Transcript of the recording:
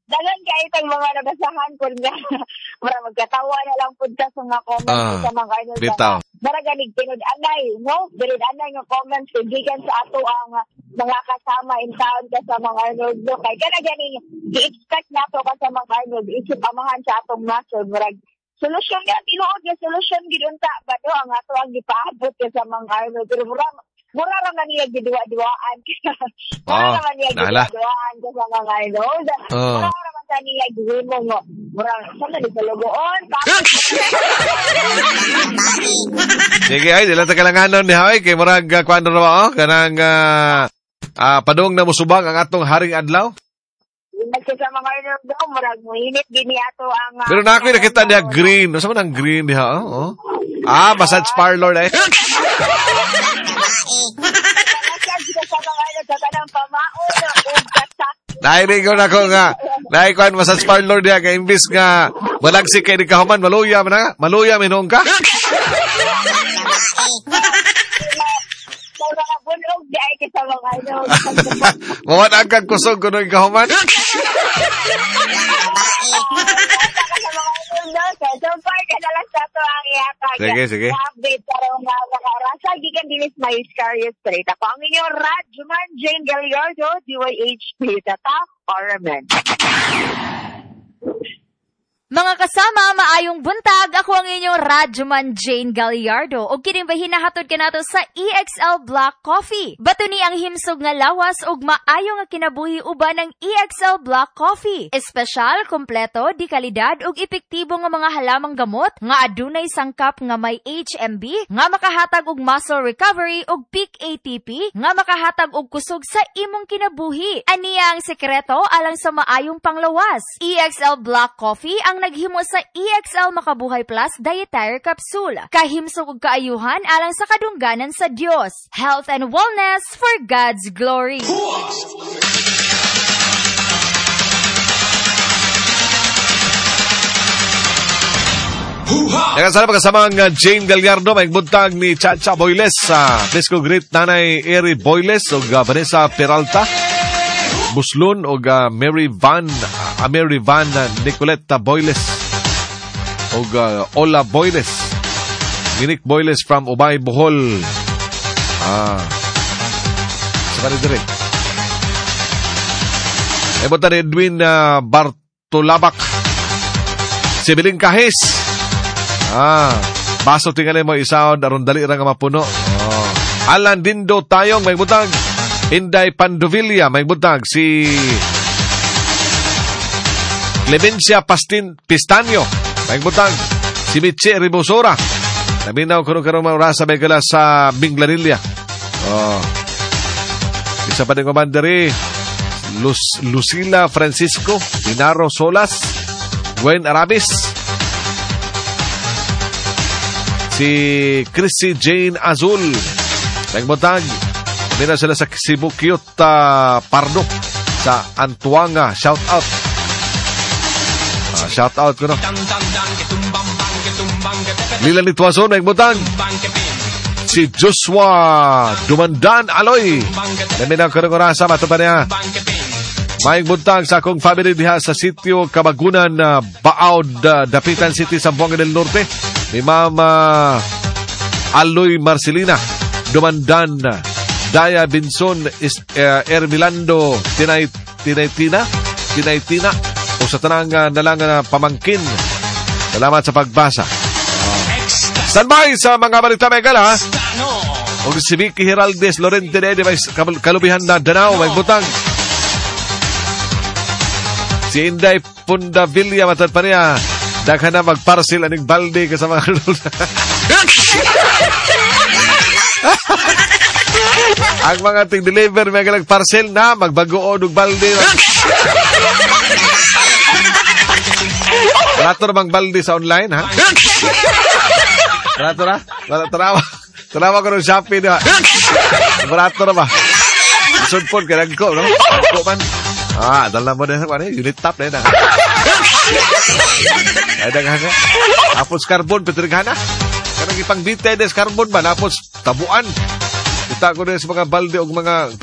Daghan kayo tag mga nabasahan po nga. Mura magkatawa na lang pud ta sa mga comments sa mga ano. Bitaw. Mura ganig tinud-anay, no? Tinud-anay nga comments kung gikan sa ato ang mga kasama in town ka sa mga Arnold, no? Kay kana ganing gi-expect nato ka sa mga Arnold isip amahan sa atong nasod, murag solusyon nga tinuod nga solusyon gid unta ba, no, ang ato ang gipaabot ka sa mga Arnold, pero mura ra man niya giduwa-duwaan. Mura ra man niya giduwa-duwaan ka sa mga Arnold. Mura ra man sa niya gihimo mo. Mura sa man sa logoon. Sige ay dili ta kalanganon ni hay kay murag kuan ra ba oh kanang padung na mosubang ang atong haring adlaw. Sa mga Arnold, murag moinit gini ato ang pero na ako'y nakita niya green. Unsa man ang green diha? Oh. Ah, massage parlor eh. Nainig ko na ko nga. Naikuan massage parlor diha kay imbis nga malagsik kay di kahuman, maluya man na. Maluya minong ka. Mawad ang kang kusog kuno kahuman. So far, kadalas na ito ang ihatag. Sige, sige. Update karong mga orasa. Gikan dinis may Scaria Street. Ako ang inyong Radyoman Jane Gallardo, DYHP, Tatak, Orman. Mga kasama, maayong buntag. Ako ang inyong Radyoman Jane Gallardo. Og kining hinahatod kanato sa EXL Black Coffee. Bato ni ang himsog nga lawas ug maayo nga kinabuhi uban ang EXL Black Coffee. Espesyal, kompleto, di kalidad ug epektibo nga mga halamang gamot nga adunay sangkap nga may HMB nga makahatag og muscle recovery ug peak ATP nga makahatag og kusog sa imong kinabuhi. Aniya ang sekreto alang sa maayong panglawas. EXL Black Coffee ang naghimo sa EXL Makabuhay Plus Dietary Capsule. Kahimsog ug kaayuhan alang sa kadungganan sa Dios. Health and wellness for God's glory. Daghang salamat kasama ang Jane Gallardo, may buntag ni Chacha Boyles. Please go greet Nanay Eri Boyles ug Vanessa Peralta Buslon og Mary Van Nicoleta Boyles og Ola Boyles, Minik Boyles from Ubay, Bohol. Sa kanil dire. Ebot ni Edwin Bartolabak. Si Biling Kahis. Baso tingali mo isaon aron dali ra nga mapuno. Oh. Alan Dindo Tayong may butang. Inday Pandovilla may butang. Si Clemencia Pastin Pistanyo may butang. Si Mitche Ribosora. Naminaw kuno karong mga orasa may gala sa Minglanilla. Oh. Isa pa din kumandari, Lucila Francisco, Dinaro Solas, Gwen Arabis, si Chrissy Jane Azul. Nagbutag. Naminaw sila sa Cebu Cute Pardo sa Antuanga. Shout out. Shout out ko no. Lila Nituazon, nagbutag. Si Joshua Dumandan Aloy. Naminaw karong orasa mato pa niya. Maayong buntag sa akong family diha sa sitio Kabagunan, Baod, Dapitan City, Zamboanga del Norte. Ni Mama Aloy Marcelina Dumandan, Daya Binson, Ermilando Tinaytina, Tinaytina, o sa tanang nalang pamangkin. Salamat sa pagbasa. Standby sa mga balita may gala. O si Vicky Giraldez Lorente de may kalubihan na Danao, may butang. Si Inday Pundavilla matad pa niya. Daghan na magparcel aning balde kasama. Ang mga ting-deliver may galag parcel na magbagoon og balde. Barato na bang balde sa online, ha? Barato na? Tanawa. Tanawa ko ng Shopee na. Barato na ba? Sudpon, kaya nagko, no? Nagko man. Dala mo na. Ano, unit top na yun. Ay, daghan ka. Tapos carbon, petrighana. Kanang ipang dite des carbon ba? Tapos tabuan. Kita ko na sa mga balde o mga